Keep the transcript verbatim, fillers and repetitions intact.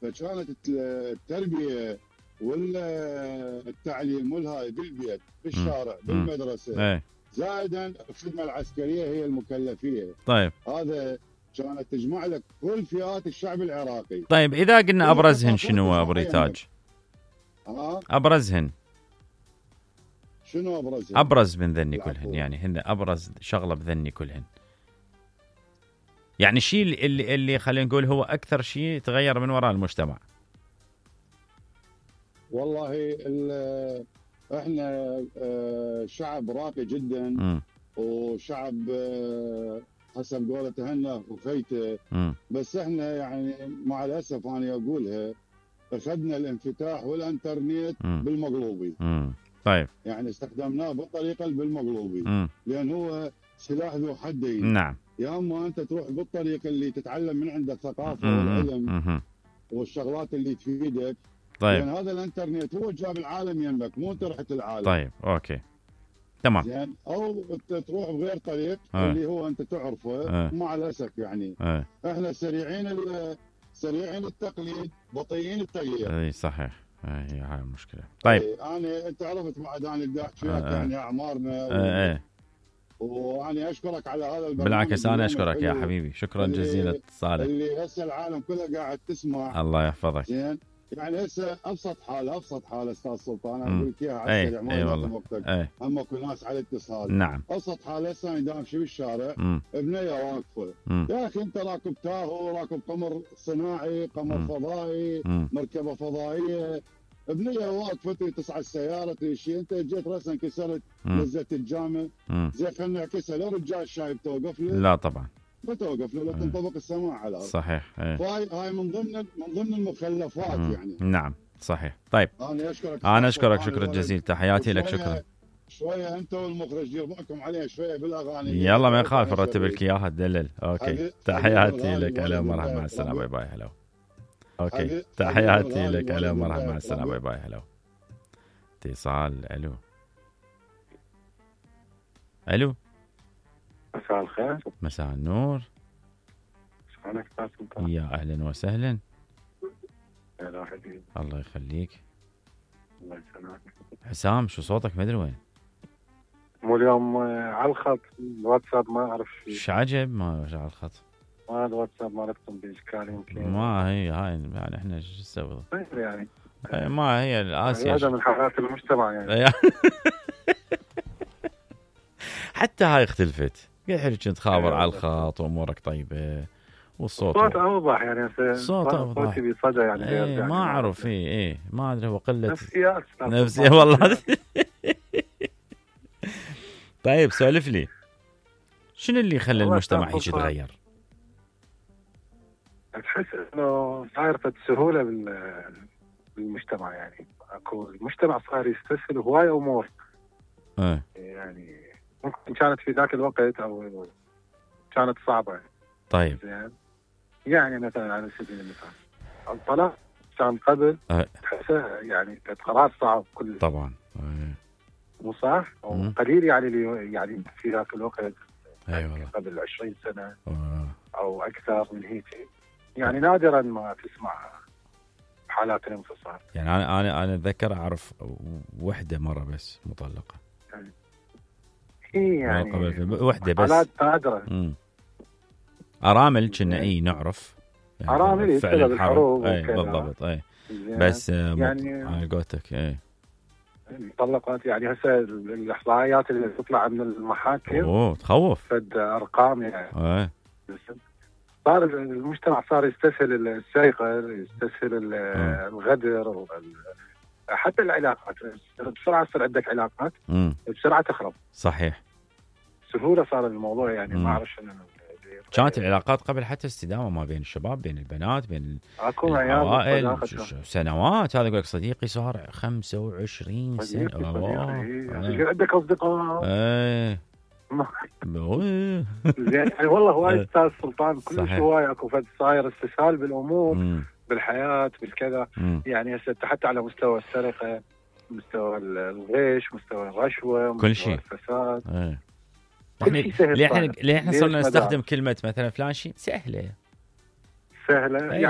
فكانت التربيه والتعليم والهاي بالبيت بالشارع بالمدرسه ايه زائدا الخدمه العسكريه هي المكلفيه. طيب هذا كانت تجمع لك كل فئات الشعب العراقي. طيب اذا قلنا ابرزهن شنو ابو ريتاج؟ ها ابرزهن شنو ابرزهن؟ ابرز من ذني كلهن، يعني هن ابرز شغله بذني كلهن، يعني الشيء اللي اللي خلينا نقول هو اكثر شيء تغير من وراء المجتمع. والله احنا شعب راقي جدا م. وشعب حسب قولة هنا وخيته، بس احنا يعني مع الاسف انا اقولها اخذنا الانفتاح والانترنت م. بالمقلوبي. م. طيب يعني استخدمناه بالطريقه بالمقلوبي م. لان هو سلاح ذو حدين. نعم. يا اما انت تروح بالطريقه اللي تتعلم من عند الثقافه م. والعلم م. والشغلات اللي تفيدك. طيب. لان هذا الانترنت هو جاب العالم يمك، مو انت رحت العالم. طيب اوكي تمام. زين او تروح بغير طريق أه. اللي هو انت تعرفه. أه. مع الاسف يعني أه. احنا سريعين سريعين التقليد بطيئين التغيير. اي صحيح، هي هاي المشكله. طيب إيه انا انت عرفت بعد انا بدي احكي وياك أه. يعني اعمارنا و... أه. وانا اشكرك على هذا البرنامج. بالعكس انا اشكرك يا حبيبي، شكرا جزيلا اتصالك. اللي هسه العالم كله قاعد تسمع. الله يحفظك. زين يعني هسه ابسط حاله ابسط حاله استاذ سلطان انا اقول لك اياها على السريع ما ياخذ وقتك. هم اكو ناس على اتصال. نعم. ابسط حاله هسه انا دامشي بالشارع بنيه واقفه، يا اخي انت راكب تاهو، راكب قمر صناعي، قمر مم. فضائي، مم. مركبه فضائيه، بنيه واقفه تصعد السياره تمشي، انت جيت راسا كسرت لزت الجامع، زين خلينا نعكسها، لو رجال الشايب توقف له؟ لا طبعا ما توقف له، لا تنطبق السماع على الارض. صحيح. فهاي هاي من ضمن من ضمن المخلفات مم. يعني. نعم صحيح. طيب انا اشكرك انا اشكرك شكرا جزيلا، تحياتي لك. شكرا. شويه انت والمخرج دير بالكم عليها شويه بالاغاني. يلا ما يخالف نرتب لك اياها تدلل. اوكي تحياتي لك. الو مرحبا مع السلامه باي باي. هلا اوكي تحياتي لك. الو مرحبا مع السلامه باي باي. هلا اتصال. الو الو مساء الخير. مساء النور. شلونك استاذ سلطان؟ يا اهلا وسهلا. هلا حبيبي. الله يخليك. الله يسلمك. حسام شو صوتك ما ادري وين؟ مو اليوم على الخط الواتساب ما اعرف شيء. ايش عجب ما على الخط؟ ما الواتساب مالتكم باشكال يمكن. ما هي هاي يعني احنا شو نسوي؟ يعني ما هي الاسيا هذا من حالات المجتمع يعني. حتى هاي اختلفت. قاعد كنت خابر على الخط وامورك طيبه والصوت الصوت اوضح يعني. الصوت اوضح. صوتي بصدى يعني. ايه يعني ما اعرف. ايه ايه ما ادري هو قله نفسيات. نفسيه والله. طيب سولف لي شنو اللي يخلي المجتمع هيك يتغير؟ تحس انه صاير في سهوله بالمجتمع يعني. اكو المجتمع صار يستسهل هواي امور. ايه يعني ممكن كانت في ذاك الوقت او كانت صعبه. طيب زين يعني مثلا على سبيل المثال الطلاق كان قبل أه. تحسه يعني كانت قرار صعب كل طبعا. أه. مو صح او قليل يعني اللي يعني في ذاك الوقت. اي والله قبل عشرين سنه أه. او اكثر من هيك يعني. أه. نادرا ما تسمع حالات الانفصال. يعني انا انا انا اتذكر اعرف وحده مره بس مطلقه. يعني هي يعني وحده بس. حالات نادره. امم ارامل كنا اي نعرف يعني ارامل يبتلى بالحروب. اي بالضبط. اي بس يعني على قولتك اي المطلقات يعني هسه الاحصائيات اللي تطلع من المحاكم اوه تخوف. فد ارقام يعني. اي صار المجتمع صار يستسهل السرقه، يستسهل الغدر، حتى العلاقات بسرعه يصير عندك علاقات مم. بسرعه تخرب. صحيح. سهوله صار الموضوع يعني. ما اعرف شنو كانت العلاقات قبل حتى استدامه ما بين الشباب بين البنات بين العوائل سنوات. هذا يقول لك صديقي صار خمسة وعشرين سنه. صديقي عندك اصدقاء. ايه زين يعني والله هواي استاذ سلطان كل شيء هواي اكو فد صاير استسهال بالامور مم. بالحياه بالكذا. يعني هسه حتى على مستوى السرقه، مستوى الغش، مستوى الرشوه، كل شيء الفساد. ايه. ليه احنا ليه احنا صرنا نستخدم كلمه مثلا فلان شيء سهله سهله يعني.